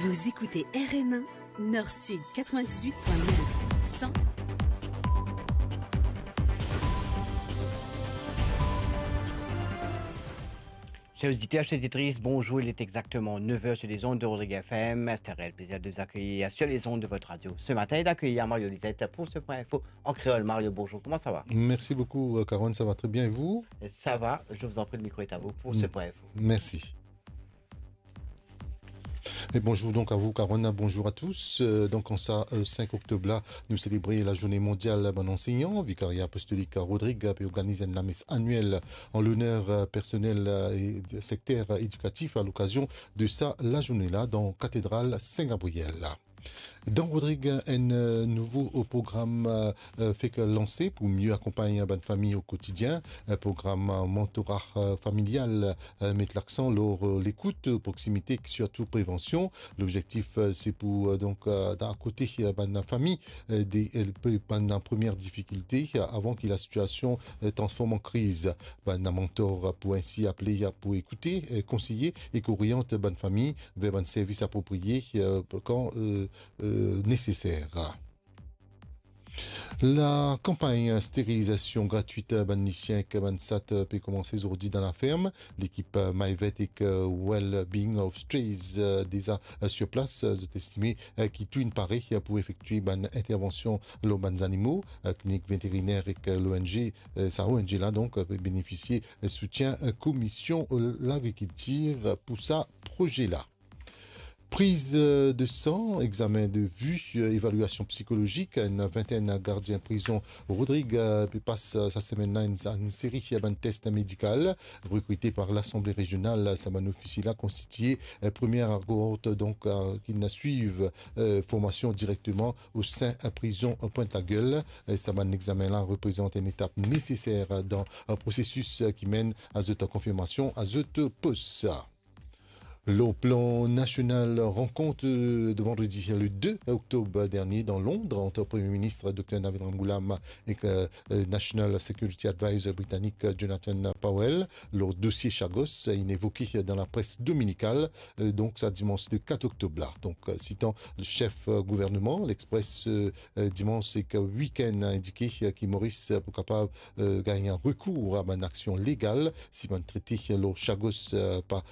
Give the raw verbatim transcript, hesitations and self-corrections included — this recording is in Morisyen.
Vous écoutez R M un, Nord Sud quatre-vingt-dix-huit point neuf, cent. Chers auditeurs, chères auditrices, bonjour. Il est exactement neuf heures sur les ondes de Rodrigue F M. C'est un réel plaisir de vous accueillir sur les ondes de votre radio ce matin et d'accueillir Mario Lisette pour ce point info en créole. Mario, bonjour, comment ça va ? Merci beaucoup, euh, Carole, ça va très bien et vous ? Ça va, je vous en prie, le micro est à vous pour ce point info. Merci. E bonzour donk a vou, Carole, bonzour a tous. Euh, donk, an sa, euh, sink oktob la, nou selebre lazourne mondial bann ansegnan. Vikaria Apostolik Rodrig pe organiz enn lames anuel an loner, euh, personel, euh, e sekter edikatif a lokazion de sa lazourne la dan katedral Sin Gabriel la. Dan Rodrig, enn, euh, nouvo, euh, program, euh, euh, fek lanse pou mie akonpagn bann fami o kotidien. Enn program, euh, mantora, euh, familial, euh, met laksan lor, euh, lekout, euh, proksimite ek sirtou prevansion. Lobzektif, euh, se pou, euh, donk, euh, dan, akote, euh, bann fami, euh, de, euh, pe, bann premie difikilte, euh, avan ki lasitiasion, euh, transform an kriz. Bann mantor, euh, pou ensi apele, euh, pou ekoute, euh, konseye ek oriant bann fami ver bann servis apropriye, euh, kan, euh, euh, neseser. Lakanpagn sterilizasion gratwit bann lisien ek bann sat pe koumanse zordi dan laferm. Lekip My Vet ek Well-Being of Strays, eh, deza sur place, zot estime, eh, ki tou inn pare pou efektwe bann intervansion lor bann zanimo. Eh, klinik veteriner ek, eh, l'O N G, eh, sa O N G la, donk, eh, pe benefisie, eh, soutien, eh, Komisyon Lagrikiltir pou sa proze la. Priz, eh, de san, examen de vi, eh, evaliasion psikolozik, enn vintenn gardien prizon Rodrig, eh, pe pas, eh, sa semenn la enn, enn seri, eh, bann tes medikal. Rekrite par Lasanble Rezional, sa bann ofisie la konstitie, eh, premie kohort, donk, eh, ki inn swiv, eh, formasion direkteman o sin, eh, prizon, eh, Pointe-la-Gueule. Eh, sa bann examen la reprezant enn etap neseser dan, eh, prosesis, eh, ki menn a zot konfirmasion a zot pos. Lor plan nasional, rankont, eh, de vandredi le de oktob dernie dan Lond ant Premie Minis Dokter Navin Ramgoolam ek, eh, eh, National Security Advisor britanik, eh, Jonathan Powell, lor dosie Chagos, eh, inn evoke dan lapres dominikal, eh, donk sa dimans le kat oktob la. Donk, eh, sitan le sef, eh, gouverneman, L'Express, eh, eh, dimans ek wikenn, a indike, eh, ki Moris, eh, pou kapav, eh, gagn rekour a bann aksion legal si bann trete, eh, lor Chagos, eh, pa